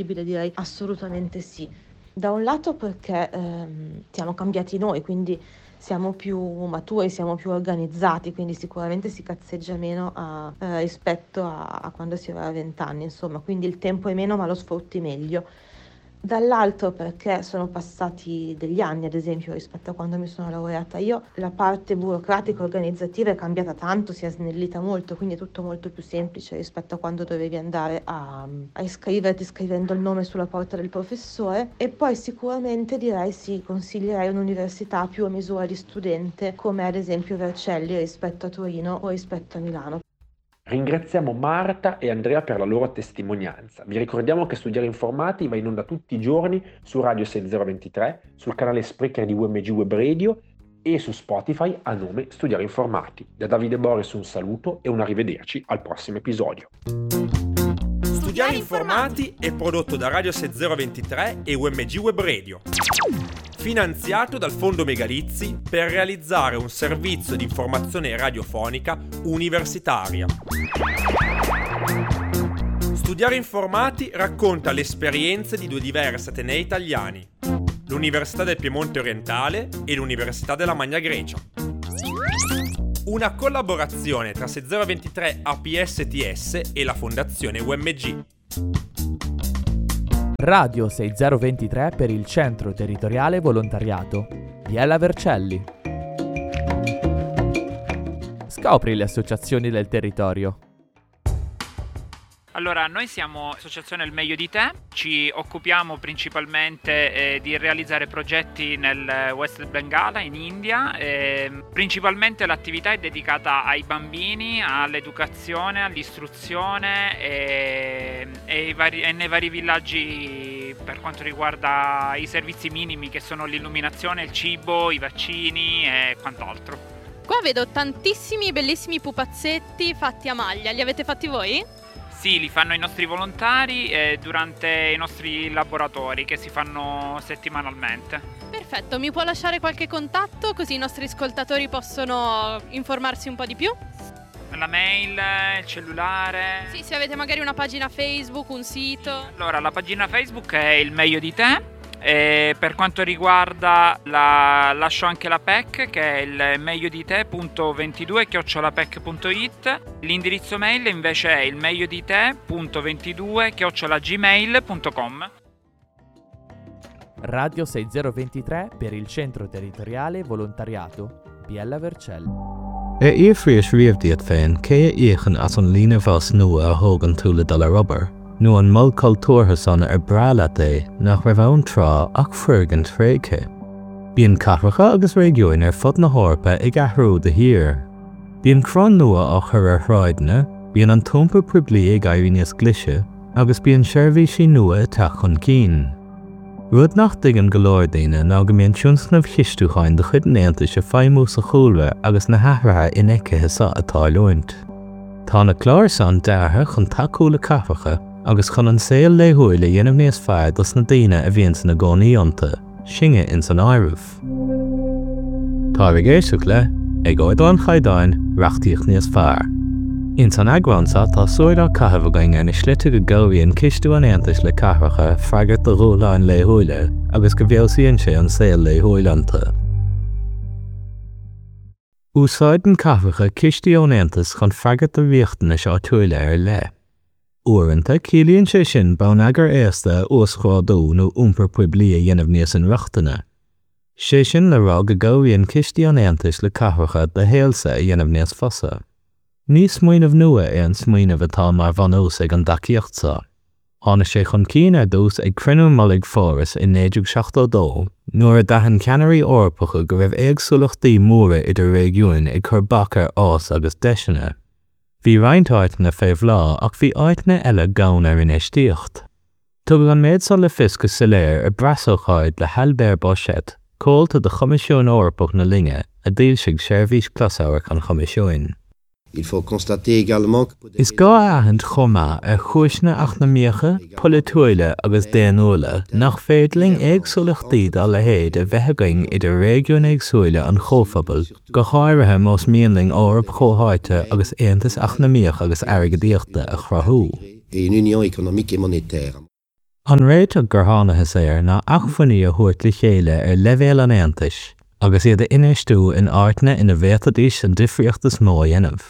Direi assolutamente sì. Da un lato perché ehm, siamo cambiati noi, quindi siamo più maturi, siamo più organizzati, quindi sicuramente si cazzeggia meno a, eh, rispetto a, a quando si aveva vent'anni, insomma, quindi il tempo è meno ma lo sfrutti meglio. Dall'altro perché sono passati degli anni, ad esempio, rispetto a quando mi sono laureata io, la parte burocratica organizzativa è cambiata tanto, si è snellita molto, quindi è tutto molto più semplice rispetto a quando dovevi andare a, a iscriverti scrivendo il nome sulla porta del professore. E poi sicuramente direi sì, consiglierei un'università più a misura di studente, come ad esempio Vercelli rispetto a Torino o rispetto a Milano. Ringraziamo Marta e Andrea per la loro testimonianza. Vi ricordiamo che Studiare Informati va in onda tutti i giorni su Radio 6023, sul canale Spreaker di UMG Web Radio e su Spotify a nome Studiare Informati. Da Davide Boris un saluto e un arrivederci al prossimo episodio. Studiare Informati è prodotto da Radio 6023 e UMG Web Radio. Finanziato dal Fondo Megalizzi per realizzare un servizio di informazione radiofonica universitaria. Studiare Informati racconta le esperienze di due diversi atenei italiani, l'Università del Piemonte Orientale e l'Università della Magna Grecia. Una collaborazione tra 6023 APSTS e la Fondazione UMG. Radio 6023 per il Centro Territoriale Volontariato. Biella Vercelli. Scopri le associazioni del territorio. Allora, noi siamo Associazione Il Meglio di Te, ci occupiamo principalmente eh, di realizzare progetti nel West Bengala, in India. Eh, principalmente l'attività è dedicata ai bambini, all'educazione, all'istruzione e, e, vari, e nei vari villaggi per quanto riguarda i servizi minimi che sono l'illuminazione, il cibo, i vaccini e quant'altro. Qua vedo tantissimi bellissimi pupazzetti fatti a maglia, li avete fatti voi? Sì, li fanno i nostri volontari eh, durante i nostri laboratori che si fanno settimanalmente. Perfetto, mi può lasciare qualche contatto così i nostri ascoltatori possono informarsi un po' di più? La mail, il cellulare. Sì, se avete magari una pagina Facebook, un sito. Allora, la pagina Facebook è Il meglio di te. E per quanto riguarda la, lascio anche la PEC che è il meglio di te.22 chiocciolapec.it. L'indirizzo mail invece è il meglio di te.22 chiocciolagmail.com. Radio 6023 per il Centro Territoriale Volontariato Biella Vercelli. Ar fhiafraís riamh díot féin cé a íocann as an líne bhus nua a thógann tú le dul ar obair, nó an mol cultúrtha san ar breá leat é nach raibh ann tráth ach foirgint thréigthe? Bíonn cathracha agus réigiúin ar fud na hEorpa ag athrú de shíor. Bíonn cruth nua á chur ar shráideanna, bíonn an t-iompar poiblí ag éirí níos glise agus bíonn seirbhísí nua ag teacht chun cinn. Rud nach dtuigeann go leor daoine ná go mbíonn tionscnaimh chistiúcháin de chuid an Aontais ag feidhmiú sa chúlra agus na hathruithe infheicthe seo ag tarlúint. Tá na cláir san deartha chun tacú le cathracha agus chun an saol laethúil a dhéanamh níos fearr dos na daoine a bhíonns ina gcónaí iontu, sinne ins an áireamh. Táibh ag éisteacht le, Ag Ardú an Chaighdeáin, Reachtaíocht Níos Fearr. Ins an eagrán seo tá súil á caitheamh againn ar na slite go gcabhraíonn cistiú an Aontais le cathracha freagairt do dhúshláin laethúila agus go bhfeabhsaíonn sé an saol laethúil iontu. Úsáideann cathracha cistí ón Aontas chun freagairt do riachtanais áitiúila ar leith. Uaireanta, ciallaíonn sé sin bonneagar éasta a uasghrádú nó iompar poiblí a dhéanamh níos inrochtana. Sé sin le rá go gcabhraíonn cistí an Aontais le cathracha do shaolsa a dhéanamh níos fusa. Ní smaoineamh nua é an smaoineamh atá mar bhunús ag an dtacaíocht seo. Tháinig sé chun cinn ar dtús ag Cruinniú Mullaigh Pháras i 1972, nuair a d'aithin ceannairí Eorpacha go raibh éagsúlachtaí móra idir réigiúin ag cur bac ar fhás agus deiseanna. Bhí roinnt áiteanna fé bhláth ach bhí áiteanna eile gann ar infheistíocht. Tugadh an méid san le fios go soiléir i bpreasócáid le hAlbert Bauchet, comhalta de Choimisiún Eorpach na linne, a d'fhoilsigh Seirbhís Closamhairc an Choimisiúin. Is gá a aithint chomh maith ar chúiseanna eacnamaíocha, polaitiúila agus daonnúla nach féidir linn éagsúlachtaí dá leithéid a bheith againn idir réigiúin éagsúila an Chomhphobail, go háirithe más mian linn Eoraip chomhtháite agus aontas eacnamaíoch agus airgeadaíochta a chruthú. et une union économique et monétaire. An réiteach gur thánathas air ná acmhainní a thabhairt le chéile ar leibhéal an Aontais agus iad a infheistiú in áiteanna ina bhféadfaidís an difríocht is mó a dhéanamh.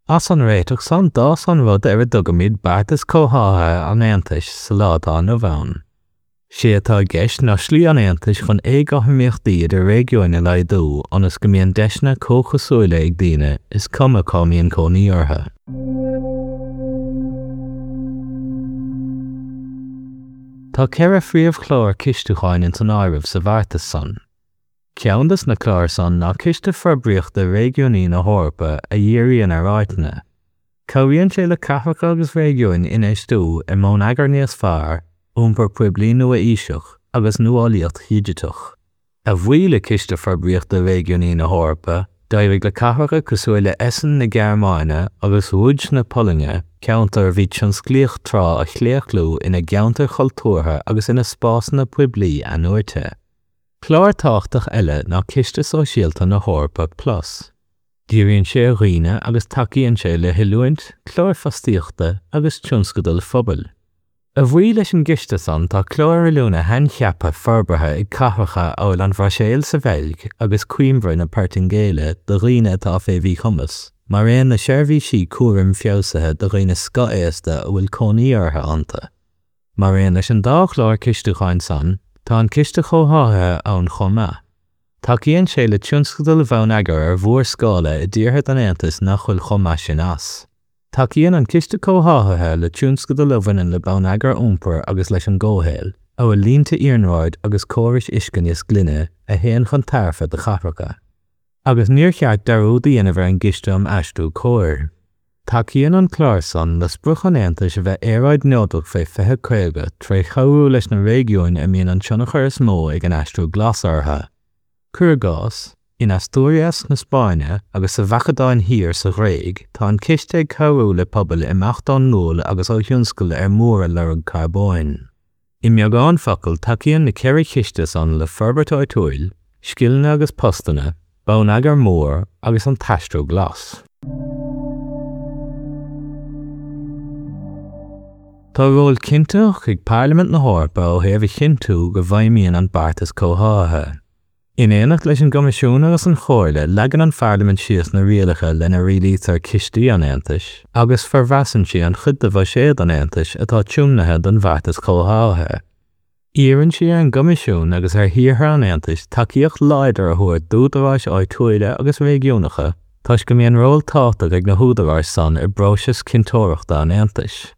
As an réiteach san d'fhás an rud ar a dtugaimid beartas comhtháthaithe an Aontais sa lá atá inniu ann. Sé atá i gceist ná slí an Aontais chun éagothromaíochtaí idir réigiúin a laghdú ionas go mbíonn deiseanna comhchosúila ag daoine, is cuma cá mbíonn cónaí orthu. Tá 4 phríomhchlár cistiúcháin ins an áireamh sa bheartas san. Ceann des na cláir san ná Ciste Forbraíochta Réigiúnaí na hEorpa a dhíríonn ar áiteanna. Cabhraíonn sé le cathracha agus réigiúin infheistiú i mbonneagar níos fearr, iompar poiblí nua-aoiseach agus nuálaíocht dhigiteach. A bhuí le Ciste Forbraíochta Réigiúnaí na hEorpa, d'éirigh le cathracha cosúil le Essen na Gearmáine agus Łódź na Polainne ceantair a bhí tionsclaíoch tráth a chlaochlú ina gceantair chultúrtha agus ina spásanna poiblí athnuaite. Clár tábhachtach eile ná Ciste Sóisialta na hEorpa Plus. Díríonn sé ar dhaoine agus tacaíonn sé le hoiliúint, cláir fostaíochta agus tionscadail phobail. A bhuí leis an gciste san tá cláir oiliúna shaincheaptha forbartha ag cathracha amhail an Bhruiséil sa Bheilg agus Coimbra na Portaingéile do dhaoine atá fé mhíchumas, mar aon le seirbhísí cúraim feabhsaithe do dhaoine scothaosta a bhfuil cónaí orthu iontu. Mar aon leis an dá chlár cistiúcháin san, tá an Ciste Comhtháthaithe ann chomh maith. Tacaíonn sé le tionscadail bhonneagair ar mhórscála i dtíortha den Aontas nach bhfuil chomh maith sin as. Tacaíonn an Ciste Comhtháthaithe le tionscadail a bhaineann le bonneagar iompair agus leis an gcomhshaol, amhail línte iarnróid agus córais uisce níos glaine, a théann chun tairbhe do chathracha. Agus níor cheart dearúd a dhéanamh ar an gCiste um Aistriú Cóir. Tacaíonn an clár san le sprioc an Aontais a bheith aeráidneodrach fé 2050 tré chabhrú leis na réigiúin a mbíonn an tionchar is mó ag an aistriú glas orthu. Cuir i gcás, in Asturias na Spáinne agus sa Mhacadóin Thiar sa Ghréig tá an ciste ag cabhrú le pobail imeacht ón ngual agus ó thionscail ar mór a lorg carbóin. I mbeagán focal, tacaíonn na 4 chiste san le forbairt áitiúil, scileanna agus postanna, bonneagar mór agus an t-aistriú glas. Tá ról cinntitheach ag Parlaimint na hEorpa ó thaobh a chinntiú go bhfeidhmíonn an beartas comhtháthaithe. In éineacht leis an gCoimisiún agus an Chomhairle, leagann an Pharlaimint síos na rialacha lena rialaítear cistí an Aontais agus formheasann sí an chuid de bhuiséad an Aontais atá tiomnaithe don bheartas comhtháthaithe. Iarrann sí ar an gCoimisiún agus ar thíortha an Aontais tacaíocht láidir a thabhairt d'údaráis áitiúila agus réigiúnacha toisc go mbíonn ról tábhachtach ag na húdaráis san i bpróiseas cinnteoireachta an Aontais.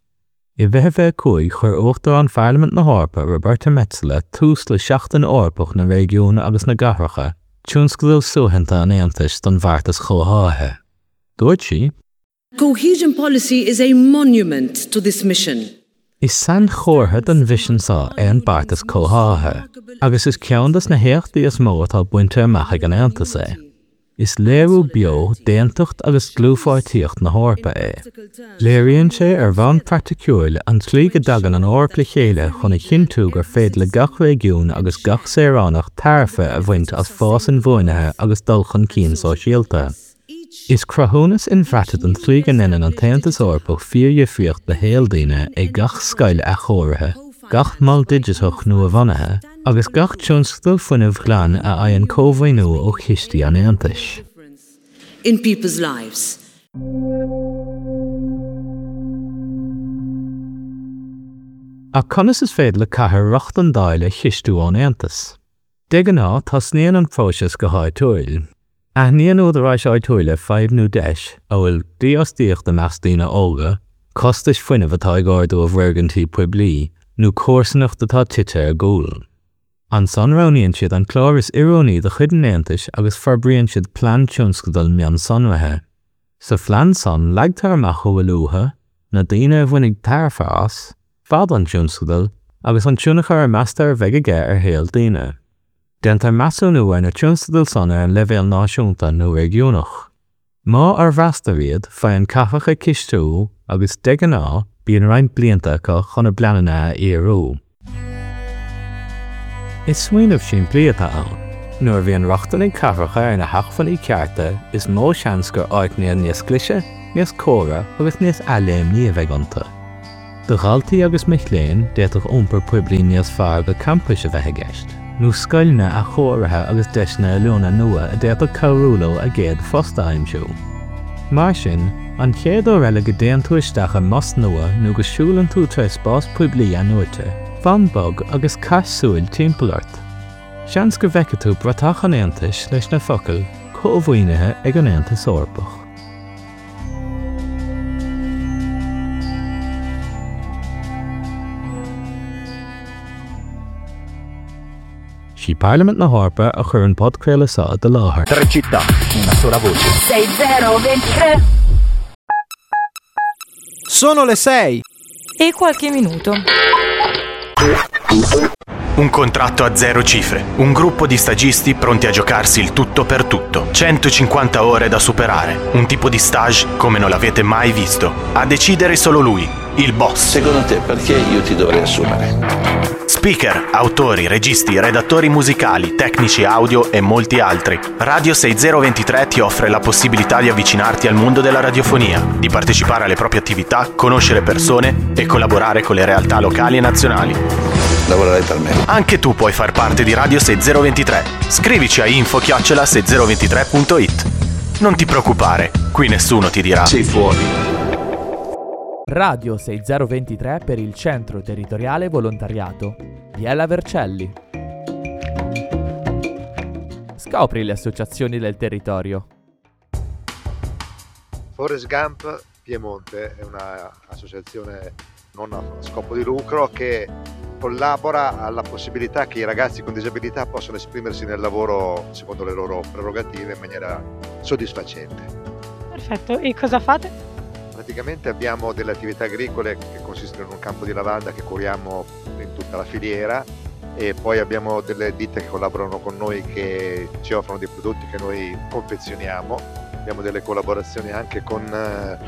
I 2025, chuir Uachtarán Pharlaimint na hEorpa, Roberta Metsola, tús le Seachtain Eorpach na Réigiún agus na gCathracha, tionscadal suaitheanta an Aontais don bheartas comhtháthaithe. Dúirt sí. Cohesion policy is a monument to this mission. Is sainchomhartha den mhisean seo é an beartas comhtháthaithe, agus is ceann de na héachtaí is mó atá bainte amach ag an Aontas é. Is léiriú beo d'aontacht agus dlúthpháirtíocht na hEorpa é. Léiríonn sé ar bhonn praiticiúil an tslí go dtagann an Eoraip le chéile chun a chinntiú gur féidir le gach réigiún agus gach saoránach tairbhe a bhaint as fás inbhuanaithe agus dul chun cinn sóisialta. Is cruthúnas inbhraite den tslí go ndéanann an tAontas Eorpach fíordhifríocht do shaol daoine é gach scoil athchóirithe, gach mol digiteach nuabhunaithe, agus gach tionscadal fuinnimh ghlain a fhaigheann cómhaoiniú ó chistí an Aontais. in people's lives. Ach conas is féidir le cathair rochtain d'fháil ar chistiú ón Aontas? De ghnáth, tosnaíonn an próiseas go háitiúil. Aithníonn údaráis áitiúla fadhb nó deis, amhail dífhostaíocht i measc daoine óga, costais fuinnimh atá ag ardú i bhfoirgintí poiblí, nó comharsanacht atá tite ar gcúl. Ansan roghnaíonn siad an clár is oiriúnaí de chuid an Aontais agus forbraíonn siad plean tionscadail mionsonraithe. Sa phlean san, leagtar amach a bhfuil uathu, na daoine a bhainfidh tairbhe as, fad an tionscadail, agus an tionchar a meastar a bheidh aige ar shaol daoine. Déantar measúnú ar na tionscadail san ar an leibhéal náisiúnta nó réigiúnach. Má fhormheastar iad, faigheann cathracha cistiú agus, de ghnáth, bíonn roinnt blianta acu chun a bpleananna a fhíorú. Is smaoineamh simplí atá ann. Nuair a bhíonn rochtain ag cathracha ar na hacmhainní cearta, is mó seans gur áiteanna níos glaise, níos córa agus níos athléimní a bheidh iontu. Do dhaltaí agus mic léinn, d'fhéadfadh iompar poiblí níos fearr go campais a bheith i gceist, nó scoileanna athchóirithe agus deiseanna oiliúna nua a d'fhéadfadh cabhrú leo a gcéad phost a aimsiú. Mar sin, an chéad uair eile go dtéann tú isteach i mbus nua nó go siúlann tú tré spás poiblí athnuaite, fan bog agus caith súil timpeall ort. Seans go bhfeicfidh tú bratach an Aontais leis na focail 'Cómhaoinithe ag an Aontas Eorpach'. Sí Parlaimint na hEorpa a chuir an podchraoladh seo i do láthair. Tre città, una sola voce. 6023 Sono le 6. E qualche minuto. Un contratto a zero cifre, un gruppo di stagisti pronti a giocarsi il tutto per tutto, 150 ore da superare, un tipo di stage come non l'avete mai visto. A decidere solo lui, il boss. Secondo te perché io ti dovrei assumere? Speaker, autori, registi, redattori musicali, tecnici audio e molti altri. Radio 6023 ti offre la possibilità di avvicinarti al mondo della radiofonia, di partecipare alle proprie attività, conoscere persone e collaborare con le realtà locali e nazionali. Lavorerai per me. Anche tu puoi far parte di Radio 6023. Scrivici a info-6023.it. Non ti preoccupare, qui nessuno ti dirà Sei fuori. Radio 6023 per il Centro Territoriale Volontariato. Biella Vercelli. Scopri le associazioni del territorio. Forest Gump Piemonte è un'associazione non a scopo di lucro che collabora alla possibilità che i ragazzi con disabilità possano esprimersi nel lavoro secondo le loro prerogative in maniera soddisfacente. Perfetto, e cosa fate? Praticamente abbiamo delle attività agricole che consistono in un campo di lavanda che curiamo in tutta la filiera e poi abbiamo delle ditte che collaborano con noi che ci offrono dei prodotti che noi confezioniamo. Abbiamo delle collaborazioni anche con eh,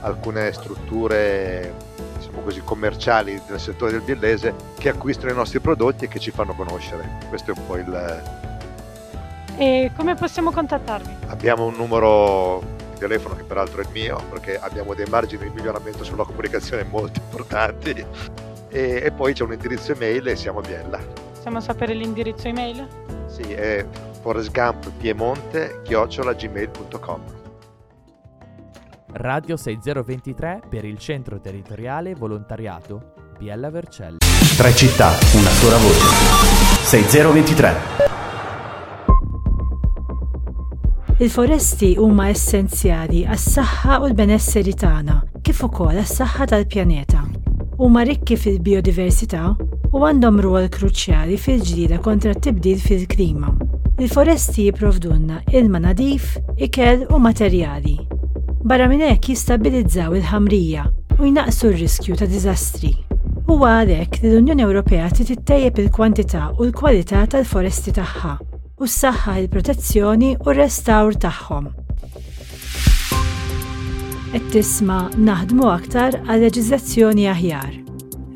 alcune strutture diciamo così, commerciali del settore del biellese che acquistano i nostri prodotti e che ci fanno conoscere. Questo è un po' il... E come possiamo contattarvi? Abbiamo un numero di telefono che peraltro è il mio perché abbiamo dei margini di miglioramento sulla comunicazione molto importanti e, e poi c'è un indirizzo email e siamo a Biella. Possiamo sapere l'indirizzo email? Sì, è forestgumppiemonte@gmail.com. Radio 6023 per il Centro Territoriale Volontariato Biella Vercelli. Tre città, una sola voce. 6023. Il-foresti huma essenzjali għas-saħħa u l-benesseri tagħna, kif ukoll għas-saħħa tal-pjaneta. Huma rikki fil-bijodiversità u għandhom rwol kruċjali fil-ġlieda kontra t-tibdil fil-klima. Il-foresti jipprovdulna ilma nadif, ikel u materjali. Barra minn hekk jistabbilizzaw il-ħamrija u jnaqqsu r-riskju ta' diżastri. Huwa għalhekk li l-Unjoni Ewropea trid ittejjeb il-kwantità u l-kwalità tal-foresti tagħha u ssaħħaħ il-protezzjoni u r-restawr tagħhom. Qed tisma' Naħdmu Aktar għal Leġiżlazzjoni Aħjar.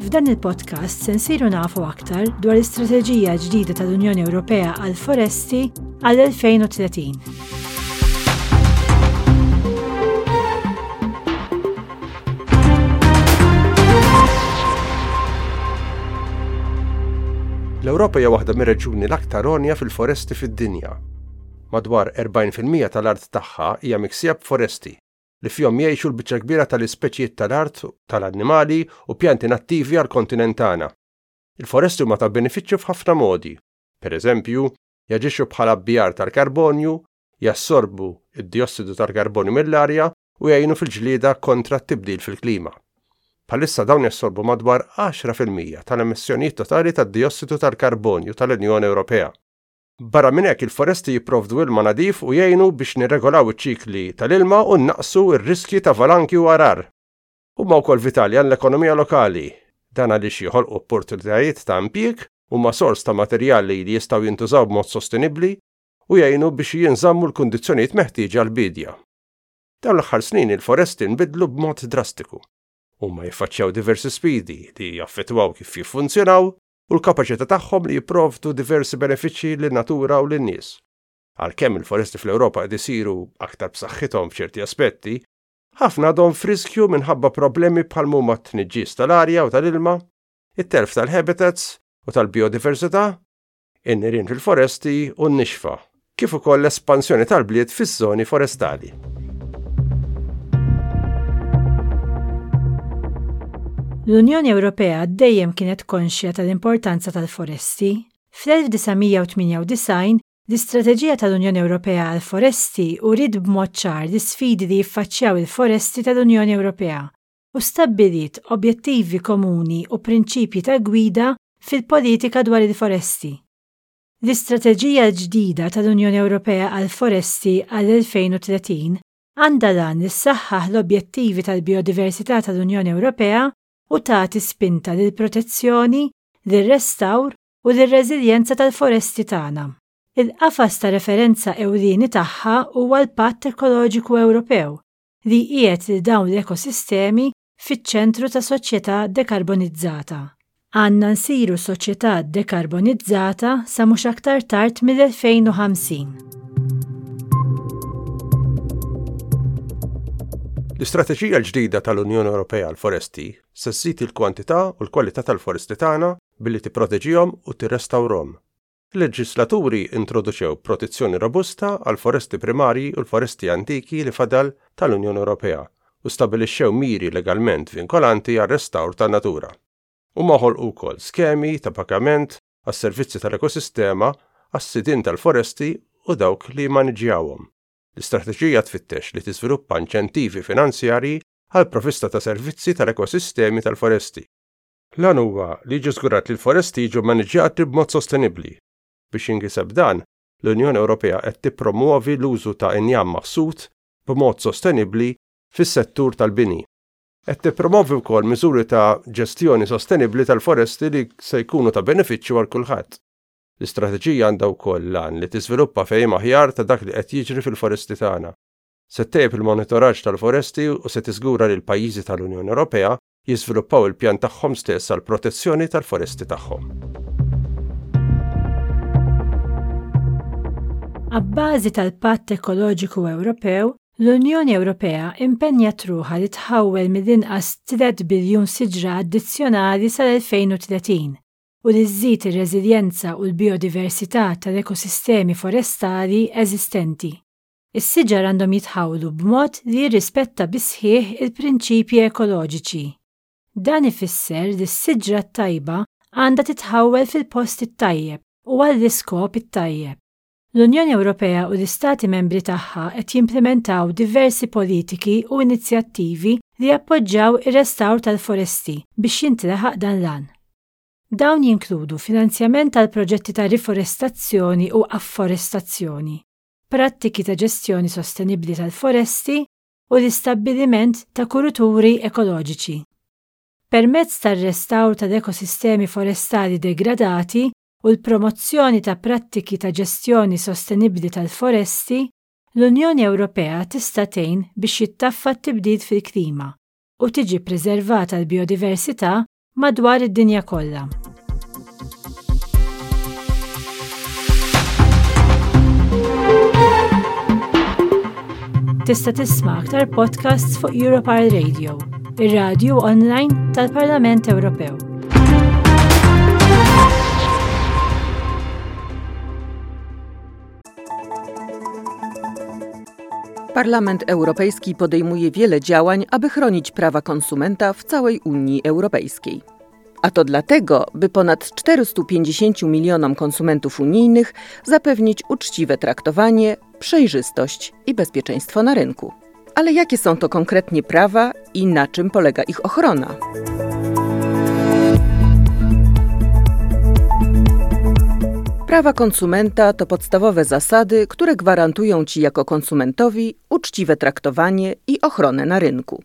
F'dan il-podcast se nsiru nafu aktar dwar l-istrateġija ġdida tal-Unjoni Ewropea għall-foresti għall-2030. L-Ewropa hija waħda mir-reġjuni l-aktar għonja fil-foresti fid-dinja. Madwar 40% tal-art tagħha hija miksija b'foresti, li fihom jgħixu l-biċċa kbira tal-ispeċijiet tal-art, tal-annimali u pjanti nattivi għall-kontinent tagħna. Il-foresti huma ta' benefiċċju f'ħafna modi. Pereżempju, jaġixxu bħala bjar tal-karbonju, jassorbu d-diossidu tal-karbonju mill-arja u jgħinu fil-ġlieda kontra t-tibdil fil-klima. Bħalissa dawn jassorbu madwar 10% tal-emissjonijiet totali tad-diossidu tal-karbonju tal-Unjoni Ewropea. Barra minn hekk il-foresti jipprovdu ilma nadif u jgħinu biex nirregolaw iċ-ċikli tal-ilma u nnaqqsu r-riskji ta' valanki u għarar. Huma wkoll vitali għall-ekonomija lokali. Dan għaliex joħolqu opportunitajiet ta' impjieg, huma sors ta' materjali li jistgħu jintużaw b'mod sostenibbli u jgħinu biex jinżammu l-kundizzjonijiet meħtieġa għall-biedja. Dawn l-aħħar snin il-foresti nbidlu b'mod drastiku. Huma jiffaċċjaw diversi sfidi li jaffettwaw kif jiffunzjonaw u l-kapaċità tagħhom li jipprovdu diversi benefiċċji lin-natura u lin-nies. Għalkemm il-foresti fl-Ewropa qed isiru aktar b'saħħithom f'ċerti aspetti, Ħafna għadhom f'riskju minħabba problemi bħal m'huma t-tniġġis tal-arja u tal-ilma, it-telf tal-habitats u tal-bijodiversità, in-nirien fil-foresti u n-nixfa, kif ukoll l-espansjoni tal-bliet fiż-żoni forestali. L-Unjoni Ewropea dejjem kienet konxja tal-importanza tal-foresti. Fl-1998, L-Istrateġija tal-Unjoni Ewropea għall-Foresti uriet b'mod ċar l-isfidi li jiffaċċjaw il-foresti tal-Unjoni Ewropea u stabbiliet objettivi komuni u prinċipji ta' gwida fil-politika dwar il-foresti. L-Istrateġija l-ġdida tal-Unjoni Ewropea għall-Foresti għall-2030 għandha l-għan li ssaħħaħ l-objettivi tal-bijodiversità tal-Unjoni Ewropea u tagħti spinta lill-protezzjoni, lir-restawr u lir-reżiljenza tal-foresti tagħna. Il-qafas ta' referenza ewlieni tagħha huwa l-Patt Ekoloġiku Ewropew, li jqiegħed lil dawn l-ekosistemi fiċ-ċentru ta' soċjetà dekarbonizzata. Għandna nsiru soċjetà dekarbonizzata sa mhux aktar tard mill-2050. L-istrateġija l-ġdida tal-Unjoni Ewropea għall-Foresti se żżid il-kwantità u l-kwalità tal-foresti tagħna billi tipproteġihom u tirrestawrhom. Il-leġislaturi introduċew protezzjoni robusta għall-foresti primarji u l-foresti antiki li fadal tal-Unjoni Ewropea u stabbilixxew miri legalment vinkolanti għar-restawr tan-natura. Huma ħolqu wkoll skemi ta' pagament għas-servizzi tal-ekosistema għas-sidien tal-foresti u dawk li jimmaniġġjawhom. L-istrateġija tfittex li tiżviluppa inċentivi finanzjarji għall-provvista ta' servizzi tal-ekosistemi tal-foresti. L-għan huwa li jiġi żgurat li l-foresti jiġu mmaniġġjati b'mod sostenibbli. Biex jinkiseb dan, l-Unjoni Ewropea qed tippromwovi l-użu ta' injam maħsud b'mod sostenibbli fis-settur tal-bini. Qed tippromovi wkoll miżuri ta' ġestjoni sostenibbli tal-foresti li se jkunu ta' benefiċċju għal kulħadd. L-istrateġija għandha wkoll l-għan li tiżviluppa fehim aħjar ta' dak li qed jiġri fil-foresti tagħna. Se ttejjeb il-monitoraġġ tal-foresti u se tiżgura li l-pajjiżi tal-Unjoni Ewropea jiżviluppaw il-pjan tagħhom stess għall-protezzjoni tal-foresti tagħhom. Abbażi tal-Patt Ekoloġiku Ewropew, l-Unjoni Ewropea impenjat ruħha li tħawwel mill-inqas 3 biljun siġra addizzjonali sal-2030 u li żżid ir-reżiljenza u l-bijodiversità tal-ekosistemi forestali eżistenti. Is-siġar għandhom jitħawlu b'mod li jirrispetta bis-sħiħ il-prinċipji ekoloġiċi. Dan ifisser li s-siġra t-tajba għandha titħawwel fil-post it-tajjeb u għall-iskop it-tajjeb. L-Unjoni Ewropea u l-Istati Membri tagħha qed jimplimentaw diversi politiki u inizjattivi li jappoġġaw ir-restawr tal-foresti biex jintlaħaq dan l-għan. Dawn jinkludu finanzjament għal proġetti ta' riforestazzjoni u afforestazzjoni, prattiki ta' ġestjoni sostenibbli tal-foresti u l-istabbiliment ta' kuruturi ekoloġiċi. Permezz tar-restawr tal-ekosistemi forestali degradati u l-promozzjoni ta' prattiki ta' ġestjoni sostenibbli tal-foresti, l-Unjoni Ewropea tista' tgħin biex jittaffa t-tibdil fil-klima u tiġi ppreservata l-bijodiversità madwar id-dinja kollha. Tista' tisma' aktar podcasts fuq Europarl Radio, ir-radju online tal-Parlament Ewropew. Parlament Europejski podejmuje wiele działań, aby chronić prawa konsumenta w całej Unii Europejskiej. A to dlatego, by ponad 450 milionom konsumentów unijnych zapewnić uczciwe traktowanie, przejrzystość i bezpieczeństwo na rynku. Ale jakie są to konkretnie prawa i na czym polega ich ochrona? Prawa konsumenta to podstawowe zasady, które gwarantują Ci jako konsumentowi uczciwe traktowanie i ochronę na rynku.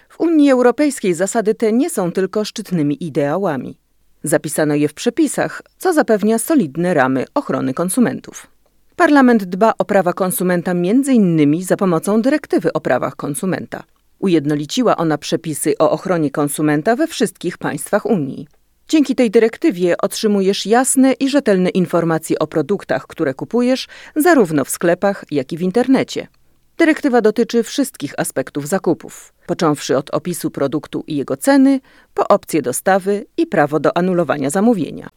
W Unii Europejskiej zasady te nie są tylko szczytnymi ideałami. Zapisano je w przepisach, co zapewnia solidne ramy ochrony konsumentów. Parlament dba o prawa konsumenta m.in. za pomocą dyrektywy o prawach konsumenta. Ujednoliciła ona przepisy o ochronie konsumenta we wszystkich państwach Unii. Dzięki tej dyrektywie otrzymujesz jasne i rzetelne informacje o produktach, które kupujesz, zarówno w sklepach, jak i w internecie. Dyrektywa dotyczy wszystkich aspektów zakupów, począwszy od opisu produktu i jego ceny, po opcję dostawy i prawo do anulowania zamówienia.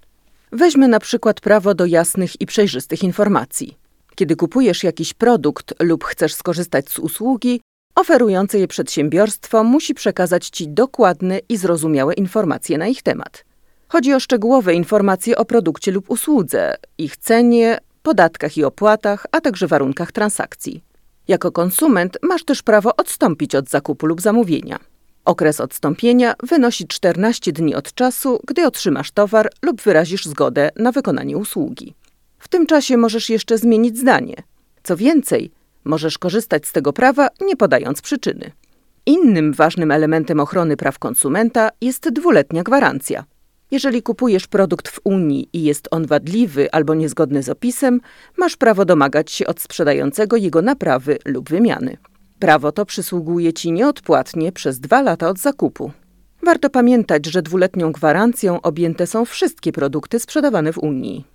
Weźmy na przykład prawo do jasnych i przejrzystych informacji. Kiedy kupujesz jakiś produkt lub chcesz skorzystać z usługi, oferujące je przedsiębiorstwo musi przekazać Ci dokładne i zrozumiałe informacje na ich temat. Chodzi o szczegółowe informacje o produkcie lub usłudze, ich cenie, podatkach i opłatach, a także warunkach transakcji. Jako konsument masz też prawo odstąpić od zakupu lub zamówienia. Okres odstąpienia wynosi 14 dni od czasu, gdy otrzymasz towar lub wyrazisz zgodę na wykonanie usługi. W tym czasie możesz jeszcze zmienić zdanie. Co więcej, możesz korzystać z tego prawa, nie podając przyczyny. Innym ważnym elementem ochrony praw konsumenta jest dwuletnia gwarancja. Jeżeli kupujesz produkt w Unii i jest on wadliwy albo niezgodny z opisem, masz prawo domagać się od sprzedającego jego naprawy lub wymiany. Prawo to przysługuje Ci nieodpłatnie przez 2 lata od zakupu. Warto pamiętać, że dwuletnią gwarancją objęte są wszystkie produkty sprzedawane w Unii.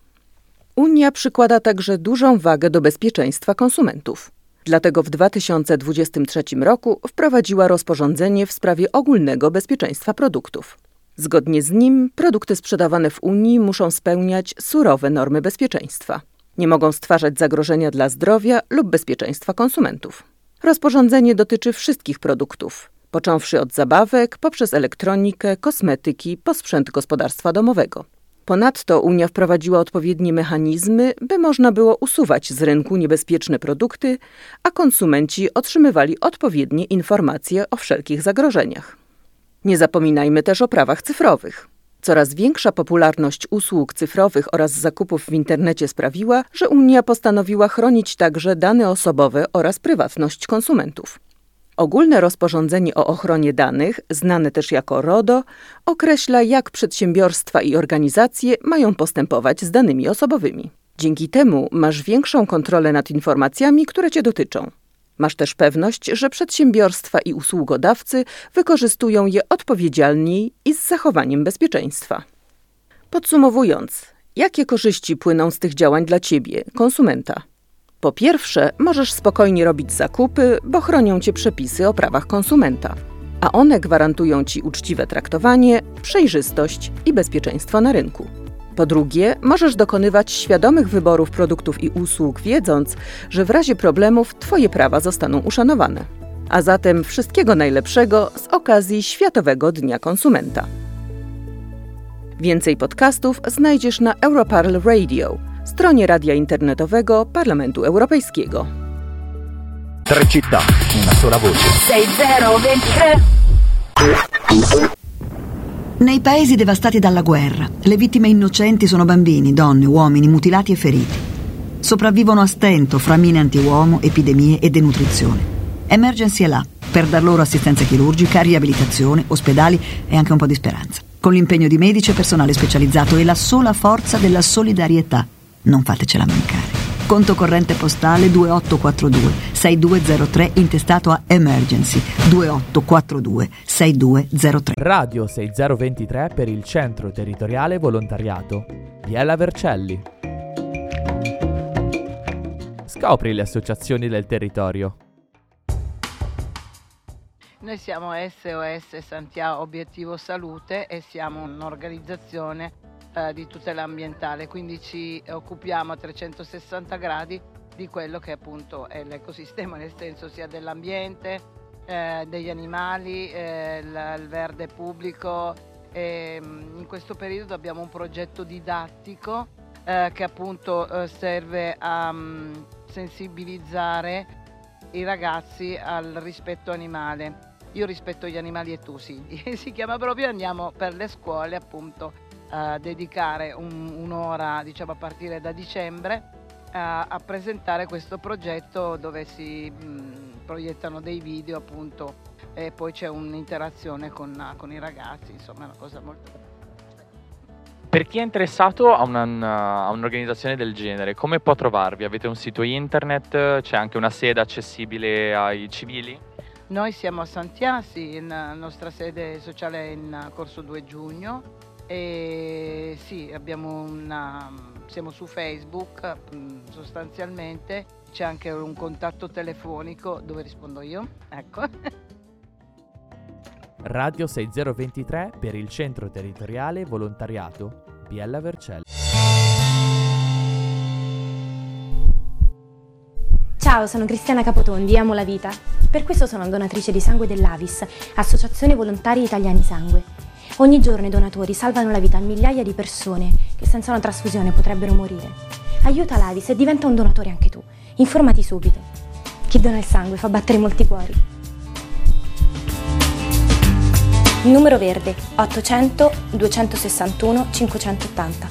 Unia przykłada także dużą wagę do bezpieczeństwa konsumentów. Dlatego w 2023 roku wprowadziła rozporządzenie w sprawie ogólnego bezpieczeństwa produktów. Zgodnie z nim produkty sprzedawane w Unii muszą spełniać surowe normy bezpieczeństwa. Nie mogą stwarzać zagrożenia dla zdrowia lub bezpieczeństwa konsumentów. Rozporządzenie dotyczy wszystkich produktów, począwszy od zabawek, poprzez elektronikę, kosmetyki, po sprzęt gospodarstwa domowego. Ponadto Unia wprowadziła odpowiednie mechanizmy, by można było usuwać z rynku niebezpieczne produkty, a konsumenci otrzymywali odpowiednie informacje o wszelkich zagrożeniach. Nie zapominajmy też o prawach cyfrowych. Coraz większa popularność usług cyfrowych oraz zakupów w internecie sprawiła, że Unia postanowiła chronić także dane osobowe oraz prywatność konsumentów. Ogólne rozporządzenie o ochronie danych, znane też jako RODO, określa, jak przedsiębiorstwa i organizacje mają postępować z danymi osobowymi. Dzięki temu masz większą kontrolę nad informacjami, które cię dotyczą. Masz też pewność, że przedsiębiorstwa i usługodawcy wykorzystują je odpowiedzialniej i z zachowaniem bezpieczeństwa. Podsumowując, jakie korzyści płyną z tych działań dla ciebie, konsumenta? Po pierwsze, możesz spokojnie robić zakupy, bo chronią cię przepisy o prawach konsumenta, a one gwarantują ci uczciwe traktowanie, przejrzystość i bezpieczeństwo na rynku. Po drugie, możesz dokonywać świadomych wyborów produktów i usług, wiedząc, że w razie problemów twoje prawa zostaną uszanowane. A zatem wszystkiego najlepszego z okazji Światowego Dnia Konsumenta. Więcej podcastów znajdziesz na Europarl Radio, stronie radia internetowego Parlamentu Europejskiego. Tre città, una sola voce. 6023. Nei paesi devastati dalla guerra, le vittime innocenti sono bambini, donne, uomini mutilati e feriti. Sopravvivono a stento fra mine antiuomo, epidemie e denutrizione. Emergency è là per dar loro assistenza chirurgica, riabilitazione, ospedali e anche un po' di speranza. Con l'impegno di medici e personale specializzato e la sola forza della solidarietà. Non fatecela mancare. Conto corrente postale 2842 6203 intestato a Emergency 2842 6203. Radio 6023 per il Centro Territoriale Volontariato. Biella Vercelli. Scopri le associazioni del territorio. Noi siamo SOS Santhià Obiettivo Salute e siamo un'organizzazione di tutela ambientale, quindi ci occupiamo a 360 gradi di quello che appunto è l'ecosistema, nel senso sia dell'ambiente, degli animali, il verde pubblico. E, in questo periodo abbiamo un progetto didattico che appunto serve a sensibilizzare i ragazzi al rispetto animale. Io rispetto gli animali e tu sì, si chiama proprio, andiamo per le scuole appunto a dedicare un'ora, diciamo a partire da dicembre, a presentare questo progetto dove si proiettano dei video appunto e poi c'è un'interazione con i ragazzi, insomma è una cosa molto bella. Per chi è interessato a un'organizzazione del genere, come può trovarvi? Avete un sito internet? C'è anche una sede accessibile ai civili? Noi siamo a Santhià, sì, la nostra sede sociale è in Corso 2 Giugno. E sì, abbiamo una, siamo su Facebook sostanzialmente, c'è anche un contatto telefonico dove rispondo io, ecco. Radio 6023 per il Centro Territoriale Volontariato Biella Vercelli. Ciao, sono Cristiana Capotondi, amo la vita. Per questo sono donatrice di sangue dell'Avis, Associazione Volontari Italiani Sangue. Ogni giorno i donatori salvano la vita a migliaia di persone che senza una trasfusione potrebbero morire. Aiuta l'Avis e diventa un donatore anche tu. Informati subito. Chi dona il sangue fa battere molti cuori. Numero verde 800 261 580.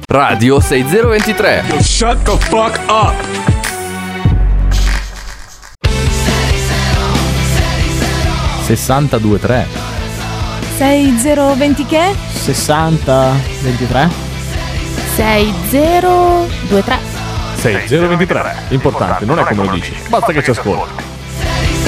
Radio 6023. Shut the fuck up! 62 3 6020 che? 60 23 6023. 6023. Importante, non è come lo dici, basta che ci ascolti.